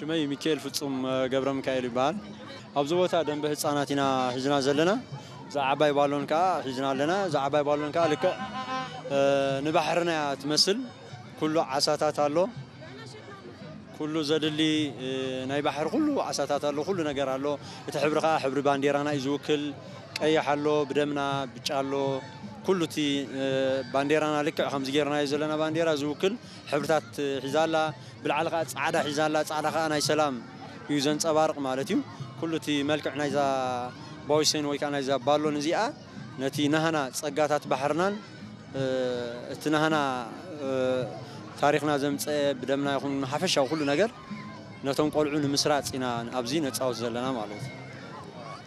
ሽመይ ሚካኤል ፍጹም ገብረ ሚካኤል ይበሃል። ኣብዚ ቦታ ደንበ ህፃናት ኢና ሒዝና ዘለና። እዛ ዓባይ ባሎን ከዓ ሒዝና ኣለና። እዛ ዓባይ ባሎን ከዓ ልክዕ ንባሕርና እያ ትመስል። ኩሉ ዓሳታት ኣሎ። ኩሉ ዘድሊ ናይ ባሕሪ ኩሉ ዓሳታት ኣሎ፣ ኩሉ ነገር ኣሎ። እቲ ሕብሪ ከዓ ሕብሪ ባንዴራና እዩ ዝውክል። ቀይሕ ኣሎ፣ ብደምና ብጫ ኣሎ። ኩሉ እቲ ባንዴራና ልክዕ ከምዚ ጌርናዮ ዘለና ባንዴራ ዝውክል ሕብርታት ሒዛ ኣላ። ብላዕሊ ከዓ ፃዕዳ ሒዛ ኣላ። ፃዕዳ ከዓ ናይ ሰላም እዩ ዘንፀባርቕ ማለት እዩ። ኩሉ እቲ መልክዕ ናይዛ ባዊሴን ወይ ከዓ ናይዛ ባሎን እዚኣ ነቲ ናህና ፀጋታት ባሕርናን እቲ ናህና ታሪኽና ዘምፀአ ብደምና ይኹን ሓፈሻዊ ኩሉ ነገር ነቶም ቆልዑ ንምስራፅ ኢና ኣብዚ ነፃወት ዘለና ማለት እዩ።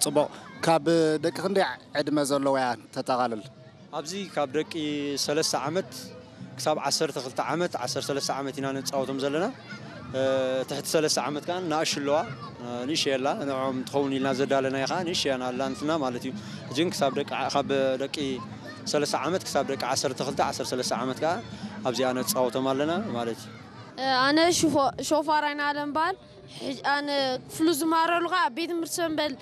ፅቡቕ። ካብ ደቂ ክንደይ ዕድመ ዘለዎ እያ ተጠቓልል? ኣብዚ ካብ ደቂ ሰለስተ ዓመት ክሳብ ዓሰርተ ክልተ ዓመት፣ ዓሰርተ ሰለስተ ዓመት ኢና ነፃወቶም ዘለና። ትሕቲ ሰለስተ ዓመት ከዓ ንኣሽለዋ ንእሸ የላ ንዕኦም ትኸውን ኢልና ዘዳለናዮ ከዓ ንእሸ እያ ኣላንትና ማለት እዩ። እጅን ክሳብ ደቂ ካብ ደቂ ሰለስተ ዓመት ክሳብ ደቂ ዓሰርተ ክልተ ዓሰርተ ሰለስተ ዓመት ከዓ ኣብዚኣ ነፃወቶም ኣለና ማለት እዩ። ኣነ ሾፋር ኣይናለም በሃል። ኣነ ክፍሉ ዝመሃረሉ ከዓ ቤት ትምህርቲ ሰንበል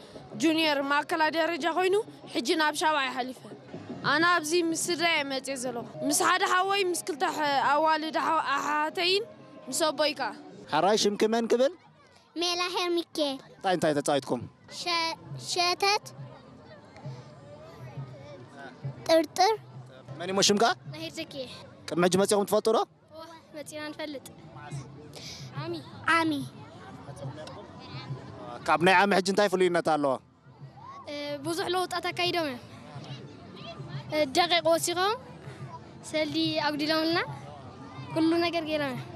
ጁኒየር ማእከላይ ደረጃ ኮይኑ ሕጂ ናብ ሻብዓይ ሓሊፈ። ኣነ ኣብዚ ምስ ስድራይ እየ መፅየ ዘለኹ። ምስ ሓደ ሓወይ ምስ ክልተ ኣዋልድ ኣሓተይን ምስ ኣቦይ ከዓ። ሕራይ ሽምኪ መን ክብል? ሜላ ሄር ሚካኤል። እንታይ እንታይ ተፃዊትኩም? ሸተት፣ ጥርጥር። መን ይሞ ሽምካ? ናሄር ዘኪየ። ቅድሚ ሕጂ መፂኹም ትፈልጡ ዶ? መፂና ንፈልጥ። ዓሚ ዓሚ። ካብ ናይ ዓሚ ሕጂ እንታይ ፍሉይነት ኣለዎ? ብዙሕ ለውጣት ኣካይዶም እዮም። ደቂቕ ወሲኾም ሰልዲ ኣጉዲሎምልና ኩሉ ነገር ገይሮም እዮም።